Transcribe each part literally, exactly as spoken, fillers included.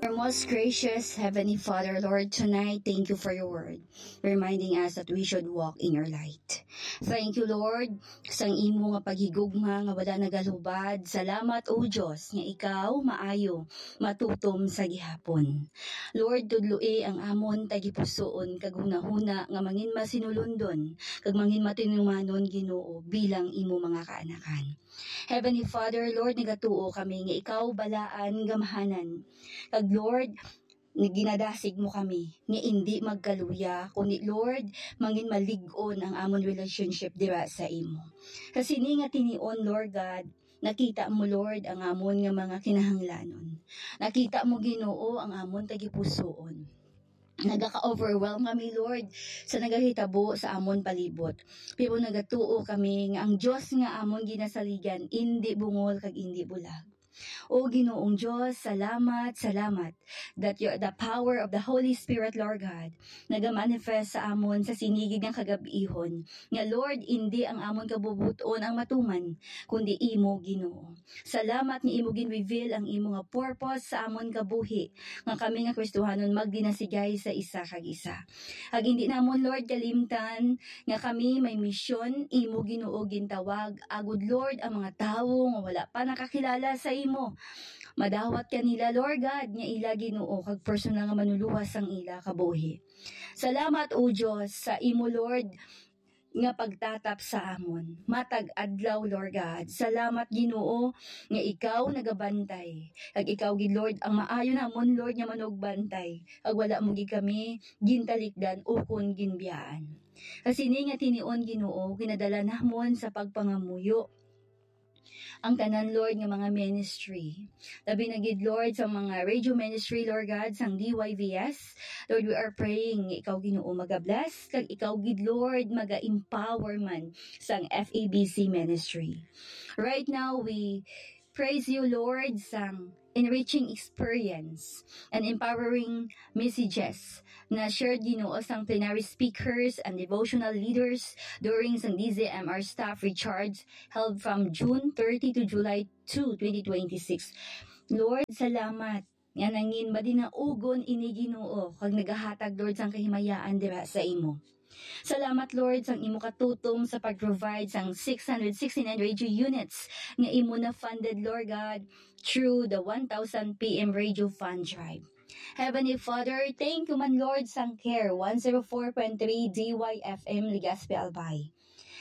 Our most gracious Heavenly Father, Lord, tonight, thank you for your word, reminding us that we should walk in your light. Thank you, Lord, sang imo nga paghigugma nga wala nagalubad. Salamat, O Dios, nga ikaw maayo, matutom sa gihapon. Lord, tudloi ang amon tagipusoon kag hunahuna nga mangin masinulundon kag mangin matinumanon, Ginoo, bilang imo mga kaanakan. Heavenly Father, Lord, nagatuo kami nga ikaw balaan, gamhanan. Kag Lord, ginadasig mo kami nga indi magkaluya, kundi, Lord, mangin malig-on ang amon relationship dira sa imo. Sa sini nga tinion, Lord God, nakita mo, Lord, ang amon nga mga kinahanglanon. Nakita mo, Ginoo, ang amon tagipusoon. Nagaka-overwhelm kami, Lord, sa nagahitabo sa amon palibot. Pero nagatuo kami nga ang Dios nga amon ginasaligan indi bungol kag indi bulag. O Ginoong Dios, salamat, salamat that your, the power of the Holy Spirit, Lord God, nagamanifest sa amon sa sinigig nga kagab-ihon. Nga, Lord, indi ang amon kabubot-on ang matuman, kundi imo, Ginoo. Salamat nga imo gin-reveal ang imo nga purpose sa amon kabuhi, nga kami nga Kristohanon magdinasigay sa isa kag isa. Ag indi namon, Lord, kalimtan nga kami may misyon, imo, Ginoo, gintawag. Agud, Lord, ang mga tawo nga wala pa nakakilala sa imo, madawat kanila, Lord God, nga ila, Ginoo, kag personal nga manuluwas sang ila kabuhi. Salamat, O Dios, sa imo, Lord, nga pagtatap sa amon matag adlaw, Lord God. Salamat, Ginoo, nga ikaw nagabantay. Kag ikaw gid, Lord, ang maayo namon, Lord, nga manugbantay. Kag wala mo gid kami gintalikdan ukon ginbiyaan. Sa sini nga tinion, Ginoo, ginadala namon sa pagpangamuyo ang tanan, Lord, nga mga ministry. Labi na gid, Lord, sa mga radio ministry, Lord God, sang D Y V S. Lord, we are praying nga ikaw, Ginoo, maga-bless, kag ikaw gid, Lord, maga-empower man sang F E B C ministry. Right now, we praise you, Lord, sang enriching experience and empowering messages na shared, Ginoo, sang plenary speakers and devotional leaders during sang D Z M R staff recharge held from June thirty to July two, twenty twenty-six. Lord, salamat nga nangin madinaugon ini, Ginoo, kag nagahatag, Lord, sang kahimayaan dira sa imo. Salamat, Lord, sang imo katutom sa pag-provide sang six hundred sixty-nine radio units nga imo na funded, Lord God, through the one thousand P M Radio Fund Drive. Heavenly Father, thank you man, Lord, sang Care one zero four point three D Y F M Legazpi, Albay.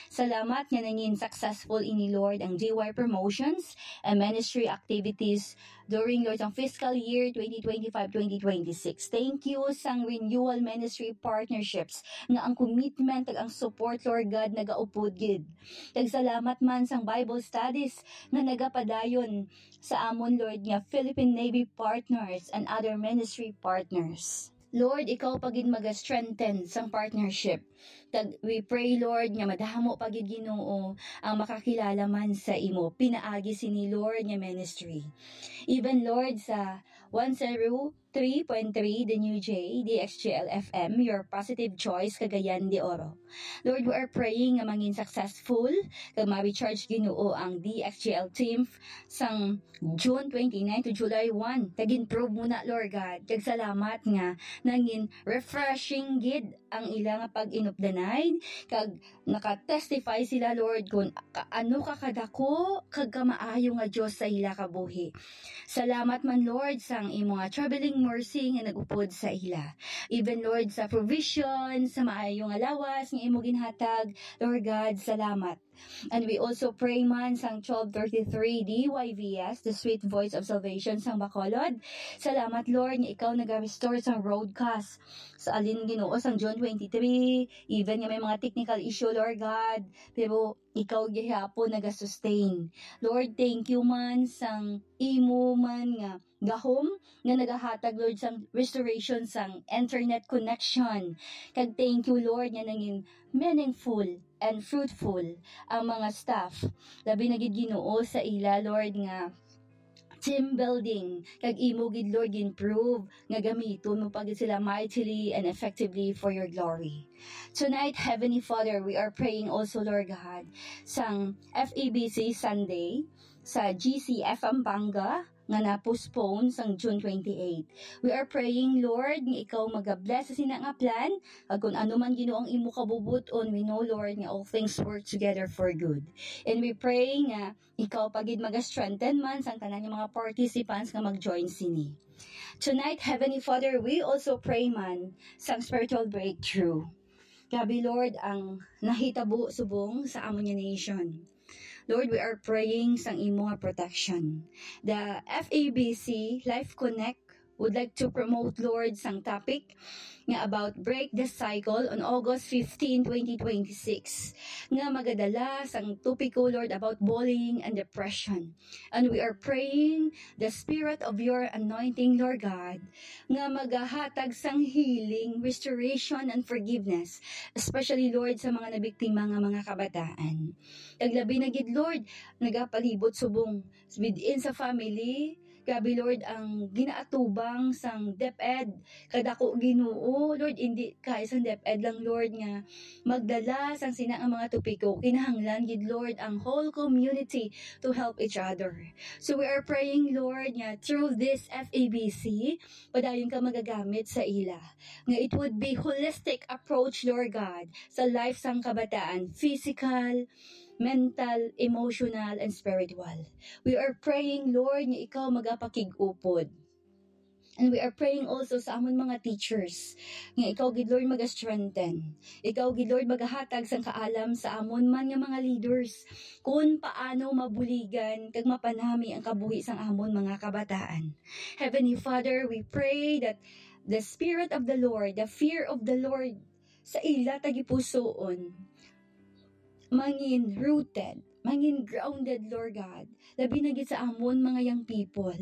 Salamat nga nangin successful ini, Lord, ang D Y promotions and ministry activities during, Lord, ang fiscal year twenty twenty-five, twenty twenty-six. Thank you sang renewal ministry partnerships nga ang commitment kag ang support, Lord God, nagaupod gid. Kag salamat man sang Bible studies nga nagapadayon sa amon, Lord, nga Philippine Navy partners and other ministry partners. Lord, ikaw pa gid maga-strengthen sang partnership. Kag we pray, Lord, nga madamo pa gid, Ginoo, ang makakilala man sa imo pinaagi sini, Lord, nga ministry. Even, Lord, sa one zero three point three The New J, D X G L F M, your positive choice, Cagayan de Oro. Lord, we are praying nga mangin successful kag ma-recharge, Ginoo, ang D X G L team sang June twenty-nine to July one. Kag improve mo na, Lord God. Kag salamat nga nangin refreshing gid ang ila nga pag-inupdanay. Kag naka-testify sila, Lord, kung ka-, ano ka kadako kag kamaayo nga Dios sa ila kabuhi. Salamat man, Lord, sang imo nga traveling mercy nga nag-upod sa ila. Even, Lord, sa provision, sa maayo nga lawas nga imo ginhatag, Lord God, salamat. And we also pray man sang twelve thirty-three D Y V S, The Sweet Voice of Salvation sang Bacolod. Salamat, Lord, nga ikaw naga-restore sang broadcast sa alin, Ginoo, sang June twenty-three, even nga may mga technical issue, Lord God, pero ikaw gihapon naga-sustain. Lord, thank you man sang imo man nga gahom nga nagahatag, Lord, sang restoration sang internet connection. Kag thank you, Lord, nga nangin meaningful and fruitful ang mga staff. Labi na gid, Ginoo, sa ila, Lord, nga team building. Kag imo gid, Lord, gin-prove nga gamiton mo pa gid sila mightily and effectively for your glory. Tonight, Heavenly Father, we are praying also, Lord God, sang F E B C Sunday, sa G C F Pampanga, nga na-postpone sang June twenty-eight. We are praying, Lord, nga ikaw magabless sa sina nga plan, kag kung ano man, Ginoo, ang imo kabubut-on, we know, Lord, nga all things work together for good. And we pray nga ikaw pa gid maga-strengthen man sang tanan nga mga participants nga mag-join sini. Tonight, Heavenly Father, we also pray man sang spiritual breakthrough. Grabe, Lord, ang nahitabo subong sa amon nga nation. Lord, we are praying sang imo nga protection. The F E B C Life Connect would like to promote, Lord, sang topic nga about Break the Cycle on August fifteen, twenty twenty-six, nga magadala sang topiko, Lord, about bullying and depression. And we are praying the spirit of your anointing, Lord God, nga magahatag sang healing, restoration, and forgiveness, especially, Lord, sa mga nabiktima nga mga kabataan. Kag labi na gid, Lord, nagapalibot subong within sa family. Grabe, Lord, ang ginaatubang sang DepEd. Kadako, Ginoo, Lord, hindi kay sang DepEd lang, Lord, nga magdala sang sina nga mga topiko. Kinahanglan gid, Lord, ang whole community to help each other. So we are praying, Lord, nga through this F E B C, padayon ka magagamit sa ila. Nga it would be holistic approach, Lord God, sa life sang kabataan, physical, mental, emotional, and spiritual. We are praying, Lord, nga ikaw magapakig-upod. And we are praying also sa amon mga teachers, nga ikaw gid, Lord, maga-strengthen. Ikaw gid, Lord, magahatag sang kaalam sa amon man nga mga leaders, kung paano mabuligan kag mapanami ang kabuhi sang amon mga kabataan. Heavenly Father, we pray that the spirit of the Lord, the fear of the Lord, sa ila tagipusoon, mangin rooted, mangin grounded, Lord God. Labi na gid sa amon mga young people.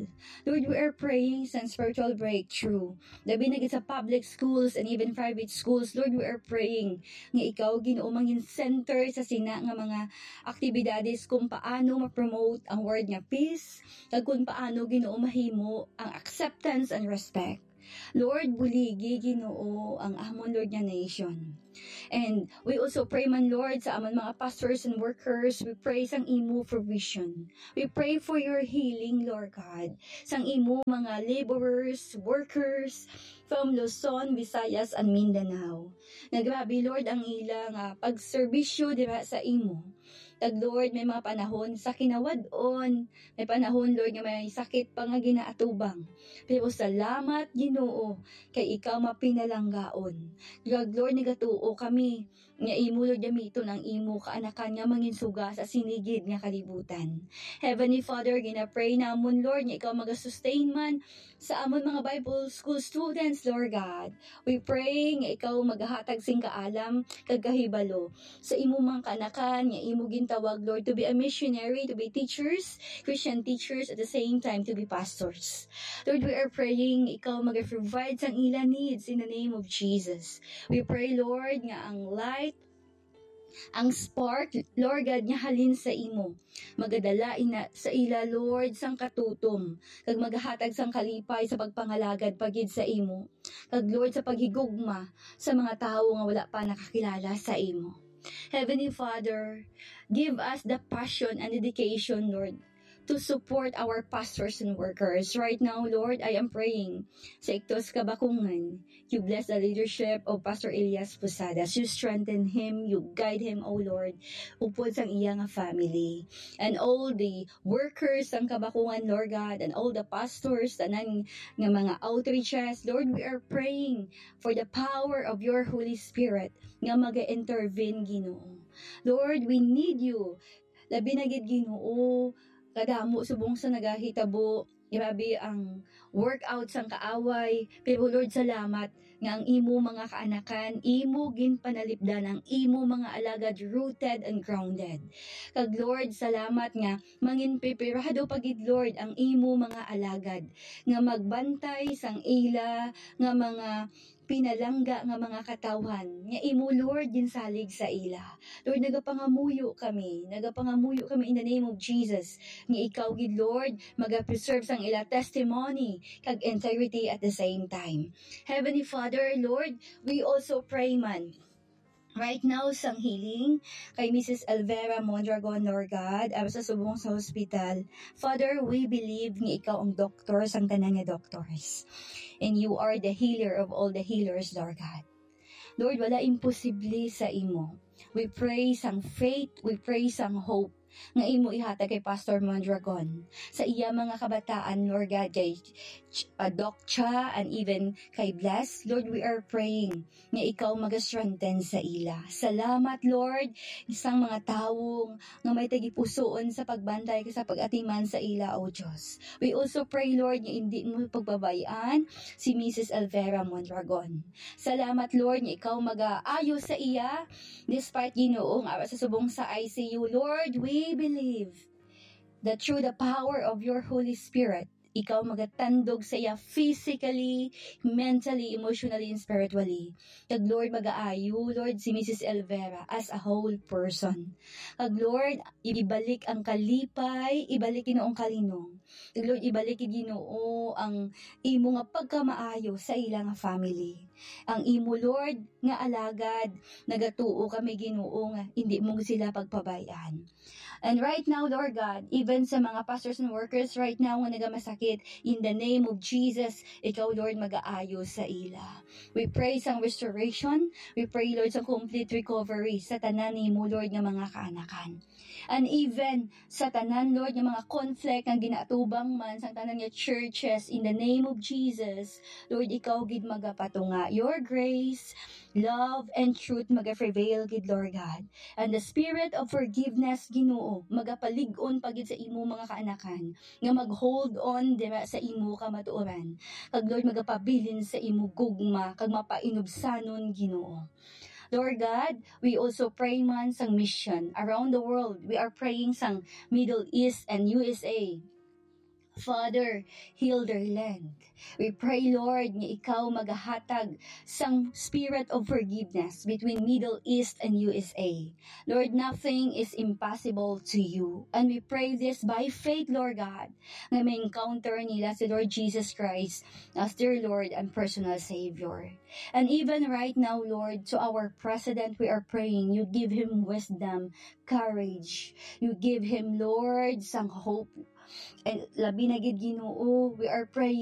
Lord, we are praying sa spiritual breakthrough. Labi na gid sa public schools and even private schools, Lord, we are praying nga ikaw, Ginoo, mangin center sa sina nga mga aktibidades kung paano ma-promote ang word nga peace, kag kung paano, Ginoo, mahimo ang acceptance and respect. Lord, buligi, Ginoo, ang amon, Lord, nga nation. And we also pray man, Lord, sa amon mga pastors and workers. We pray sang imo provision. We pray for your healing, Lord God, sang imo mga laborers, workers from Luzon, Visayas, and Mindanao. Nga grabe, Lord, ang ila nga pagserbisyo diha sa imo. Kag Lord, may mga panahon sa kinawad-on, may panahon, Lord, nga may sakit pa nga ginaatubang. Pero salamat, Ginoo, kay ikaw mapinalanggaon. Kag Lord, nagatuo kami nga imo, Lord, gamiton ang imo kaanakan nga manginsuga sa sini gid nga kalibutan. Heavenly Father, ginapray namon, Lord, nga ikaw magasustain man sa amon mga Bible School students, Lord God. We pray nga ikaw magahatag sing kaalam kag kahibalo sa imo mga kaanakan nga imo gintawag, Lord, to be a missionary, to be teachers, Christian teachers, at the same time to be pastors. Lord, we are praying ikaw mag-provide sang ila needs in the name of Jesus. We pray, Lord, nga ang light, ang spark, Lord God, nga halin sa imo, magadala ina sa ila, Lord, sang katutom, kag magahatag sang kalipay sa pagpangalagad pa gid sa imo, kag, Lord, sa paghigugma sa mga tawo nga wala pa nakakilala sa imo. Heavenly Father, give us the passion and dedication, Lord, to support our pastors and workers. Right now, Lord, I am praying sa Ictus Kabakungan. You bless the leadership of Pastor Elias Posadas. You strengthen him, you guide him, O Lord, upod sang iya nga family. And all the workers sang Kabakungan, Lord God, and all the pastors, tanan nga mga outreaches, Lord, we are praying for the power of your Holy Spirit nga maga-intervene, Ginoo. Lord, we need you. Labi na gid, Ginoo, kadamo subong sa nagahitabo. Grabe ang workout sang kaaway. Pero Lord, salamat nga ang imo mga kaanakan, imo ginpanalipdan ang imo mga alagad rooted and grounded. Kag Lord, salamat nga manginpipirado pa gid, Lord, ang imo mga alagad nga magbantay sang ila nga mga pinalangga nga mga katawhan nga imo, Lord, ginsalig sa ila. Lord, nagapangamuyo kami, nagapangamuyo kami in the name of Jesus, nga ikaw gid, Lord, magapreserve sang ila testimony kag integrity at the same time. Heavenly Father, Lord, we also pray man right now sang healing kay Missus Elvera Mondragon, Lord God, amo sa subong sa hospital. Father, we believe nga ikaw ang doktor sang tanan nga doctors. And you are the healer of all the healers, Lord God. Lord, wala imposible sa imo. We pray sang faith, we pray sang hope nga imo ihatag kay Pastor Mondragon, sa iya mga kabataan, Lord God, kay Ch-, uh, Doc Cha, and even kay Bless. Lord, we are praying nga ikaw magastrengthen sa ila. Salamat, Lord, sang mga tawo nga may tagipusoon sa pagbantay kag sa pag-atiman sa ila, O Diyos. We also pray, Lord, nga hindi mo pagbabayaan si Missus Elvera Mondragon. Salamat, Lord, nga ikaw magaayo sa iya, despite, Ginoo, nga sa subong sa I C U. Lord, we believe that through the power of your Holy Spirit, ikaw magatandog sa iya physically, mentally, emotionally, and spiritually. Kag Lord, magaayo, Lord, si Missus Elvera as a whole person. Kag Lord, ibalik ang kalipay, ibalik, Ginoo, ang kalinong. Kag Lord, ibalik, Ginoo, ang imo nga pagkamaayo sa ila nga family. Ang imo, Lord, nga alagad, nagatuo kami, Ginoo, nga hindi mo sila pagpabay-an. And right now, Lord God, even sa mga pastors and workers right now nga nagamasakit, in the name of Jesus, ikaw, Lord, magaayo sa ila. We pray sang restoration. We pray, Lord, sang complete recovery sa tanan nimo, Lord, nga mga kaanakan. And even sa tanan, Lord, nga mga conflict nga ginaatubang man sang tanan nga churches, in the name of Jesus, Lord, ikaw gid magapatunga. Your grace, love, and truth magaprevail gid, Lord God. And the spirit of forgiveness, Ginoo, magapalig-on pa gid sa imo mga kaanakan nga mag-hold on dira sa imo kamatuoran. Kag Lord, magapabilin sa imo gugma kag mapainubsanon, Ginoo. Lord God, we also pray man sang mission around the world. We are praying sang Middle East and U S A. Father, heal their land. We pray, Lord, nga ikaw magahatag sang spirit of forgiveness between Middle East and U S A. Lord, nothing is impossible to you. And we pray this by faith, Lord God, nga ma-encounter nila si Lord Jesus Christ as their Lord and personal Savior. And even right now, Lord, to our president, we are praying, you give him wisdom, courage. You give him, Lord, sang hope. And labi na gid, Ginoo, we are praying